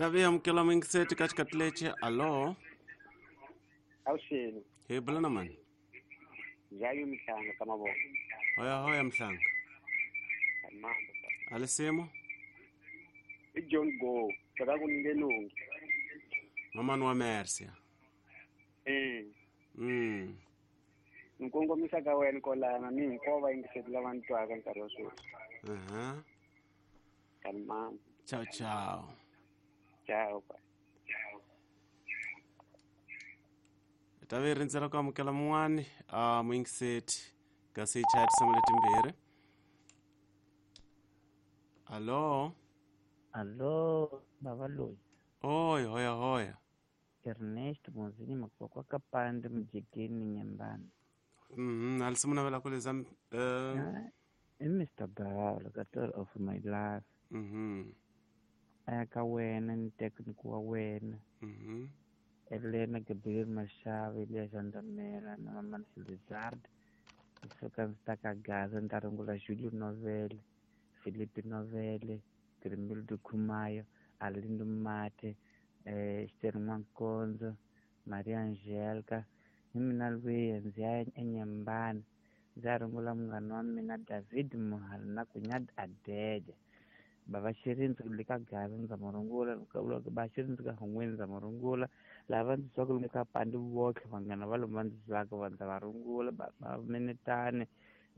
Tavi amukela muyingiseti ka xikati lexi. Alo. Avuxeni. Hi bula na mani? Jayu Mhlanga ka mavoko. Hoya hoya Mhlanga. Mambo. Alisimo? I John Go, saka ku ninge nungi. Mamani wa Mercia. Eh. Mm. Ni kongomisa ka wena kolana ni hinkwavo vayingiseri lava ni twaka nkarhi wa sweswi. Aha. Kalmani. Ciao ciao. Ciao. Tavi hi rindzela ku amukela mun'wani a muyingiseti kasi hi chaya tinsimu letimbirhi. Alo. Alo, bava loyi. Oy, hoya hoya. Ernest Muzini Makwakwa Kapande Mjigeni Nyembani. Alisimu navela ku leza Ah, i Mr. Bawla ka of my life. Aya ka wena ni technical wa wena. Elena Gabriel Mashava, Elias Andamela na Mama Lizard. Kusuka ndzi ta ka Gaza ni ta rungula Julio Novele, Felipe Novele, Grimildo Khumayo, Arlindo Mate, Esther N'Wankonzo, Maria Angelica. Hi mina lwiya ndzi ya eNyembani ndzi ya rungula munghana wa mina David Muhari na Kunyad Adede. Bava Xirindzi le ka Gaza ndza mu rungula, ba Xirindzi ka Hungweni ndza mu rungula, lava ndzi twaka lomu ka Pandi votlhe vanghana va lomu va ndzi twaka va ndza va rungula, ba Minetani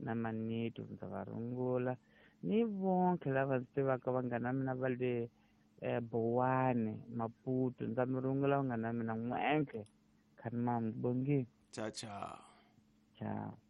na Manito ndza va rungula, ni vonke lava ndzi tivaka vanghana mina va le Bowani, Maputo ndza mi rungula vanghana mina n'wentlhe. Khanimam, bongi. Ciao ciao. Ciao.